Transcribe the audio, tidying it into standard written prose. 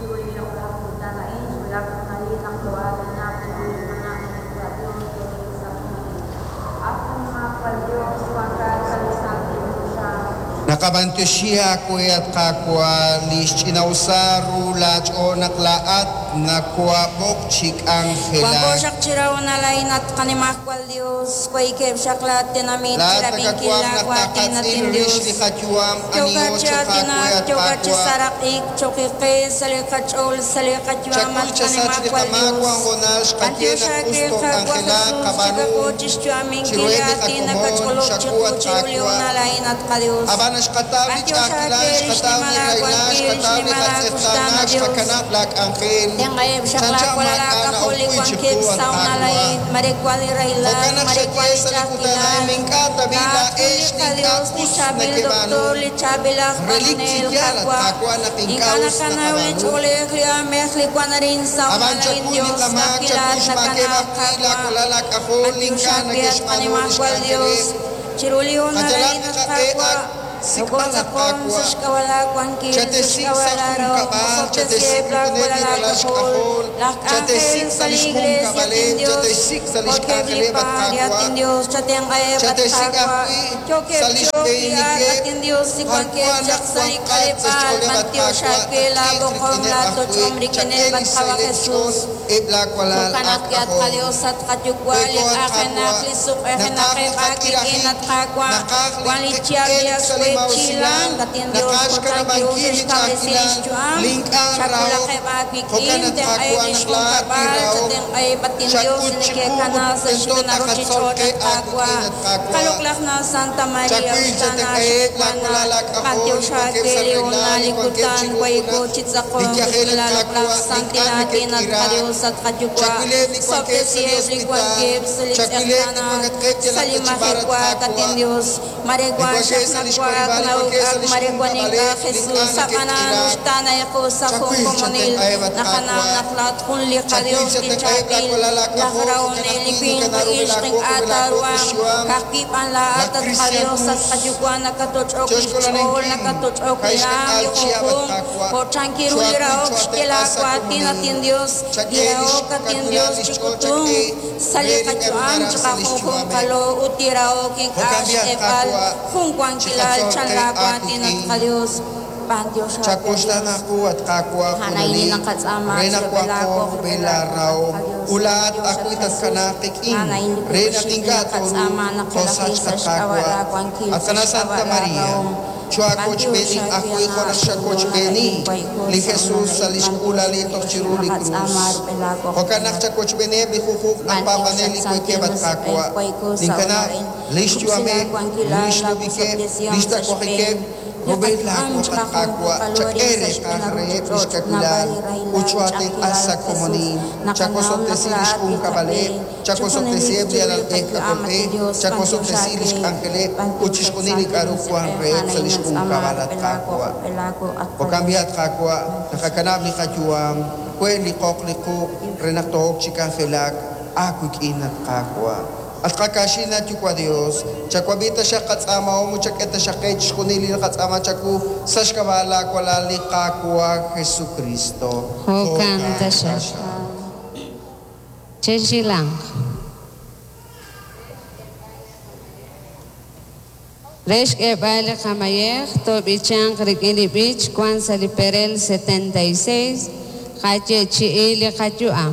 Chiru li loq'laj kutan a'in xwulak xhoonalil naq too'aatinaq chiru li Qana' Qanimajwal Yos yo'yo sa' junelik. At Qanimajwal Yos, wankat sa' li santil choxa. Naqab'antioxi aawe, at Qaawa', li xch'ina'usal ru laach'ool naq laa'at nakohaab'oq chi Wanko k'anjelak. xaq chi rahonal a'in, at Qanimajwal Yos, waykeb' xaq laatenamit Laa'at chirab'inkil nakawaj naq laawaatin, at taqatz'il rix inYos. li qayu'am, Yookat aniho chi cho'q aawe, aatinak, at yookat chi Qaawa'. saraq'ik cho'q qe sa' li qach'ool, sa' li qayu'am, Chakuy at chasach li Qanimajwal qamaak Yos. wan hoonal xqaye B'antiox naq us aawe, Qaawa' took'anjelaq Jesús, qab'aanu chikako chixyu'aminkil li chiruheb' li aatin qakomon, nakach'olob' xaku, chiqu at chiru li Qaawa'. hoonal a'in, at qaDios. Ab'an xqataw li B'antiox ch'a'ajkilal, aawe li xqataw li xnimal rahilal, aawankil, li xqataw li xnimal aakuxtaan, qatz'eqtaanaak, at Dios. xqakanab' laak'anjel. Tenq'aheb' xaq Chanchan laawalal maak'a' aak'ajol li na'ok wi' chiqu, wankeb' at sa' hoonal Qaawa'. a'in, mare wan li rahilal, Jo'kan naq mare wan xaye li sa' li kutan ch'a'ajkilal. a'in, ink'a' tab'i' Laa'at jun laa'ex li li ink'a' qaDios, li us chaab'il nekeb'aanu. doktor, li chaab'il aj Relik chi b'anonel, yaal, at Qaawa'. Qaawa', naq ink'a' Ink'a' us nakanaw li naqab'aanu. ch'oolej, li aamej, li wan arin sa' Ab'an hoonal a'in, chakuy li Dios, qamaak, ka'ajwi' chakuy laa'at xmaakeb' nakanaw, ajwi' Qaawa'. laawalal laak'ajol li B'antiox ink'a' aawe, at neke'xb'aanu li Qanimajwal Dios, xk'anjeleb'. chiru li hoonal Qayalaq a'in, li at qaq'e Qaawa', sik'b'al, at nokotz'aqon sa' Qaawa'. xk'ab'a' laawankil, sa' Chatesik' xk'ab'a' sa' laarahom, junkab'al, osob'tesiheb' chatesik' rik'ineb' li laawalal ralal aak'ajol, xk'ajol, laj k'anjel chatesik' sa' sa' li li iglesia, at xjunkab'aleb', inDios, chatesik' sa' li jo'keb' li xk'anjeleb', at paal, at Qaawa'. inDios, chatenq'aheb', at Chatesik' Qaawa', ajwi' yookeb' sa' li cho'q li aak, at xb'eenikeb', inDios, li b'ar wankeb' wan chaq naq sa' li wanqat sa' k'aleb'aal, xch'ooleb', at b'antiox Qaawa', aawe tatq'iiq laab'oqom, rik'ineb' ajwi', laatoch'om chak'e rik'ineb', li at Qaawa' xsahileb' Jesús. xch'ool eb' laawalal Jo'kan ajwi' at aak'ajol. qaDios, at qaYuwa', li We'ko, at q'ajenaq, Qaawa', li naqaj li suq'ejenaqeb' aawik'in, qak'irajik, at Qaawa', naqaj li wan li chihab' li elk ak sa' li xwe' maa'usilal, chilank, at inDios, naqaj jo'kan kiru xkanab'ankil li xe'xkawresi li ch'a'ajkilal, xyu'am, li ink'a' rahok. chakulaqeb' aawik'in, Jo'kan, at tenq'aheb' Qaawa', li naq laa'at li xjunkab'al, rahok chatenq'aheb', at inDios, xak'ut li chiqu ut neke'kana sa' tento xb'een taqatzol ruuchich'och', qe at Qaawa'. aawik'in, at Qaawa'. Qaloq'laj na Santa Maria, Chakuy uxtaana chatenq'aheb' xik'wana, laawalal aak'ajol li b'antiox wankeb' aawe sa' li rahilal, hoonal, li li wankeb' kutan, chiru wayko junaq chi li tz'aqonk yajel, rik'in at laaloq'laj Qaawa', li santil ink'a' aatin, at neke'k'iraak. qaDios, at qaYuwa'. Chakuileb' li wankeb' sa' li Sob'tesiheb' li hospital, wankeb' sa' li chakuileb' li tz'eqtaanaak, wankatqeb' sa' yalaq li ta chi b'ar, at majewaak, at Qaawa'. inDios. Mare Li wan wankeb' xaq sa' li nawaak, xwarib'aal, li wankeb' nawuk'ak, sa' li mare wan ink'a' xjunkab'aleb', li Jesús, ink'a' ab'anan neke'k'iraak. uxtaana equ sa' jun Chakuy komonil. chatenq'aheb', at Naqanaw Qaawa'. naq laa'at jun li Chakuy qaDios li chatenq'aheb' chaab'il, laawalal laj aak'ajol, jo'kan rahonel, li ajwi' winq, li neke'naru ixq laakok ink'a' laakok li taaruhanq. xyu'am. Ka'ajwi' b'an laa'at, Laj at Christian qaDios, at Cruz, qaYuwa', nakatoch'ok cho li xch'ool, xk'oolaninkil nakatoch'ok li kaixkak'aal raam, li chihab', at junjunq. Qaawa'. Jo' chankiru li Choakuy rahok xye choatenq'a sa' laawaatin, at komonil. inDios, li Chak'e li rahok, at xkawilal inDios, li xch'ool, chik'utunk chak'e sa' li re li k'aru qayu'am, naraj sa' li chiqajunjunqalo xyu'ameb'. ut li rahok ink'a' Jo'kan b'i', at xk'eeb'al Qaawa', jun wankilal chiqatzol chan qe laawaatin, at aawik'in. qaDios. B'antiox aawe, Chakuxtaan Dios. aawu, at Qaawa', A'an a'in li junelik, naqatz'aama re naq chi wanqo rub'el rub'el laawaq, rub'el laarahom, laawaq, at qaDios. ut laa'at B'antiox, at ajwi' Jesús. tatkanaaq qik'in, A'an a'in li re naq kukuxik li ink'a' tooruuq naqatz'aama naqelaji toosachq, sa' at xk'ab'a' Qaawa'. laawankil, At sa' Qana' xk'ab'a' Santa Maria, laarahom. choakochb'eeni B'antiox aawe, ajwi' jo' Ana' naq xul xakochb'eeni a'in wayko li sa' Jesús hoonal sa' a'in. li B'antiox xk'uulali aawe, toj chiru li krus. naqatz'aama rub'el laawaq, Jo'kan rub'el naq laawaq. chakochb'eeniheb' li jujuq aj B'antiox, paab'anel at li santil wankeb', at Musiq'ej, Qaawa'. wayko sa' hoonal Ninkanab' a'in. li Kub'si xyu'ameb', laawankilal, li xlub'ikeb', laawosob'tesihom li sa' xb'een xtawajikeb', li rub'el qayu'am, laawaq, at Qaawa'. chiqajunjunqalo Chak'e arin sa' reeqaj xb'een reheb' li ruuchich'och', xkawilal naab'al li ut rahilal, choatenq'a ch'a'ajkilal, sa' Jesús. komonil. Naqanaw naq Chakosob'tesi li laa'at li qab'e, xjunkab'aleb', chi junelik chakosob'tesiheb' li chiru li alalb'ej qayu'am, at k'ajolb'ej, inDios, b'antiox chakosob'tesi li aawe, xk'anjeleb' ut b'antiox, at chixjunil li santil k'aru wank Musiq'ej, reheb' a'an sa' a'in li natz'aama xjunkab'al, at rub'el laawaq, Qaawa'. rub'el laawaq, at Jo'kan qaDios. b'i', at Qaawa', B'antiox naqakanab' li qayu'am, we' li qoq li quq' re naq took chi k'anjelak aawik'in, at Qaawa'. At qakaaxin, at Yuwa' Dios, chawab'i taxaq qatz'aamahom ut chak'e taxaq qe chixjunil li naqatz'aama chawu sa' xk'ab'a' laawalal li Qaawa' Jesucristo. Jo'kan Jo'kan taxaq. taxaq. Chexilanq. Re xk'eeb'al li qamayej, toob'ichanq rik'in li b'ich wan sa' li perel 76, qayeechi'i li qayu'am.